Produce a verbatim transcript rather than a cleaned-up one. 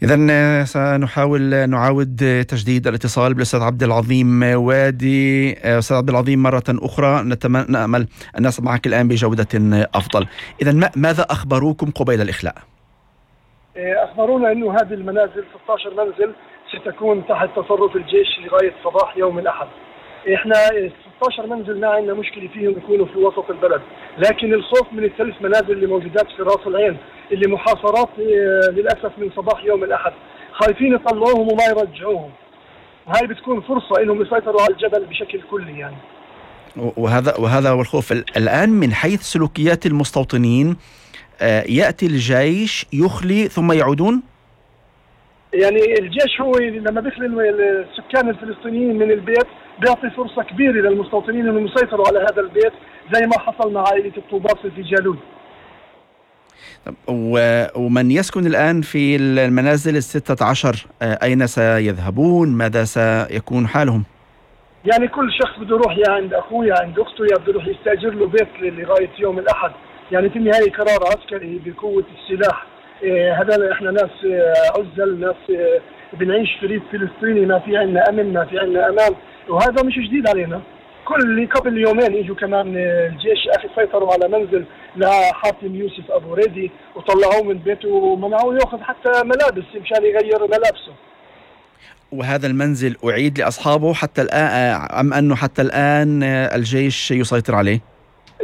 إذن سنحاول نعاود تجديد الاتصال بالأستاذ عبد العظيم وادي. أستاذ عبد العظيم، مرة أخرى نتمنى نأمل أن نسمعك الآن بجودة أفضل. إذن ماذا أخبروكم قبيل الإخلاء؟ أخبرونا أنه هذه المنازل ستة عشر منزل ستكون تحت تصرف الجيش لغاية صباح يوم الأحد. إحنا ستة عشر منزل ما عندنا مشكلة فيهم يكونوا في وسط البلد، لكن الخوف من الثلاث منازل اللي موجودات في راس العين اللي محاصرات للأسف من صباح يوم الأحد، خايفين يطلعوهم وما يرجعوهم. هاي بتكون فرصة إنهم يسيطروا على الجبل بشكل كلي يعني. وهذا وهذا هو الخوف الآن من حيث سلوكيات المستوطنين. يأتي الجيش يخلي ثم يعودون. يعني الجيش هو لما بيخلي السكان الفلسطينيين من البيت بيعطي فرصة كبيرة للمستوطنين انهم يسيطروا على هذا البيت زي ما حصل مع عائلة الطوباس في جالوت. ومن يسكن الآن في المنازل الستة عشر أين سيذهبون؟ ماذا سيكون حالهم؟ يعني كل شخص بده يروح يا عند أخوه يا عند أخته يا بده يروح يستأجر له بيت لغاية يوم الأحد. يعني في النهاية قرار عسكري بقوة السلاح. إيه هذا احنا ناس عزل، ناس إيه بنعيش في ريف فلسطيني، ما في عنا أمن، ما في عنا أمان، وهذا مش جديد علينا. كل قبل يومين اجوا كمان الجيش اخي سيطروا على منزل لحاتم يوسف ابو ريدي وطلعوه من بيته ومنعوه ياخذ حتى ملابس مشان يغير ملابسه. وهذا المنزل اعيد لاصحابه حتى الان ام انه حتى الان الجيش يسيطر عليه؟